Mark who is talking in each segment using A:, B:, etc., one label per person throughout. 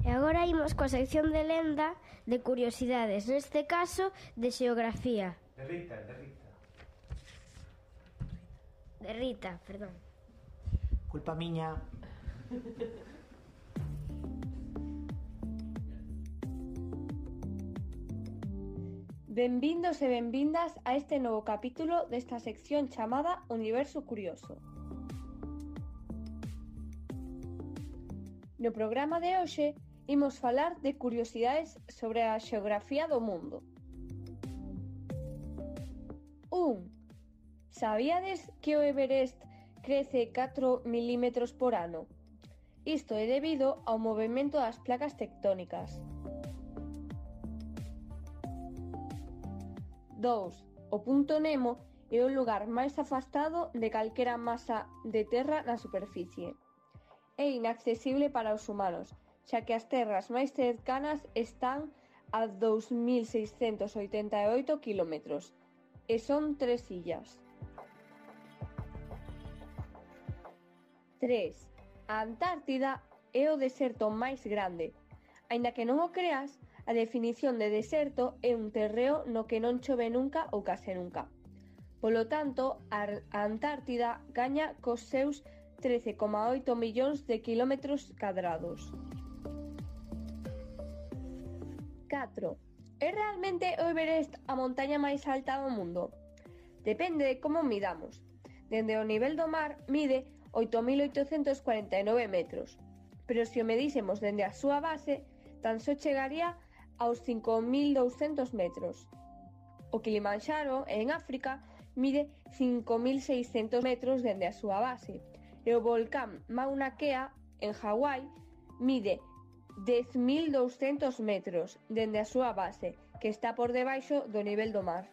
A: E agora imos coa sección de lenda de curiosidades, neste caso de xeografía.
B: De Rita.
A: De Rita, perdón.
B: Culpa miña.
C: Benvindos e benvindas a este novo capítulo desta sección chamada Universo Curioso. No programa de hoxe imos falar de curiosidades sobre a xeografía do mundo. 1. Sabíades que o Everest crece 4 milímetros por ano? Isto é debido ao movemento das placas tectónicas. 2. O punto Nemo é o lugar máis afastado de calquera masa de terra na superficie. É inaccesible para os humanos, xa que as terras máis cercanas están a 2.688 km e son 3 illas. 3. A Antártida é o deserto máis grande. Aínda que non o creas, a definición de deserto é un terreo no que non chove nunca ou case nunca. Polo tanto, a Antártida gaña cos seus 13,8 millóns de kilómetros cadrados. 4. É realmente o Everest a montaña máis alta do mundo? Depende de como midamos. Dende o nivel do mar mide 8.849 metros, pero se o medísemos dende a súa base, tan só chegaría aos 5.200 metros. O Kilimanxaro, en África, mide 5.600 metros dende a súa base, e o volcán Mauna Kea, en Hawái, mide 10.200 metros dende a súa base, que está por debaixo do nivel do mar.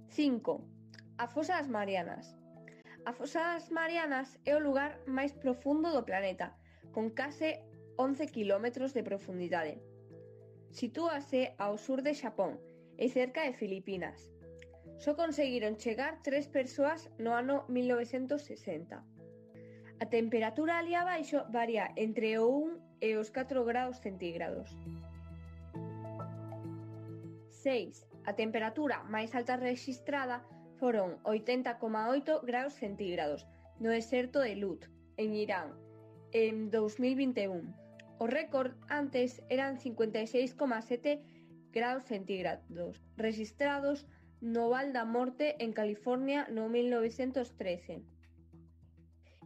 C: Cinco. A Fosa das Marianas. A Fosa das Marianas é o lugar máis profundo do planeta, con case 11 km de profundidade. Sitúase ao sur de Xapón e cerca de Filipinas. Só conseguiron chegar 3 persoas no ano 1960. A temperatura ali abaixo varía entre o 1 e os 4 graus centígrados. 6. A temperatura máis alta rexistrada foron 80,8 graus centígrados no deserto de Lut, en Irán, en 2021. O récord antes eran 56,7 graus centígrados, rexistrados no Val da Morte en California no 1913.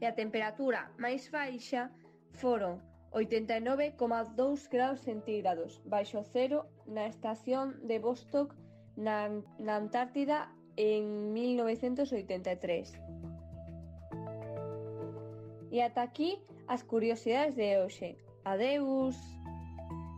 C: E a temperatura máis baixa foron 89,2 graus centígrados baixo cero na estación de Vostok na Antártida en 1983. E ata aquí as curiosidades de hoxe. Adeus!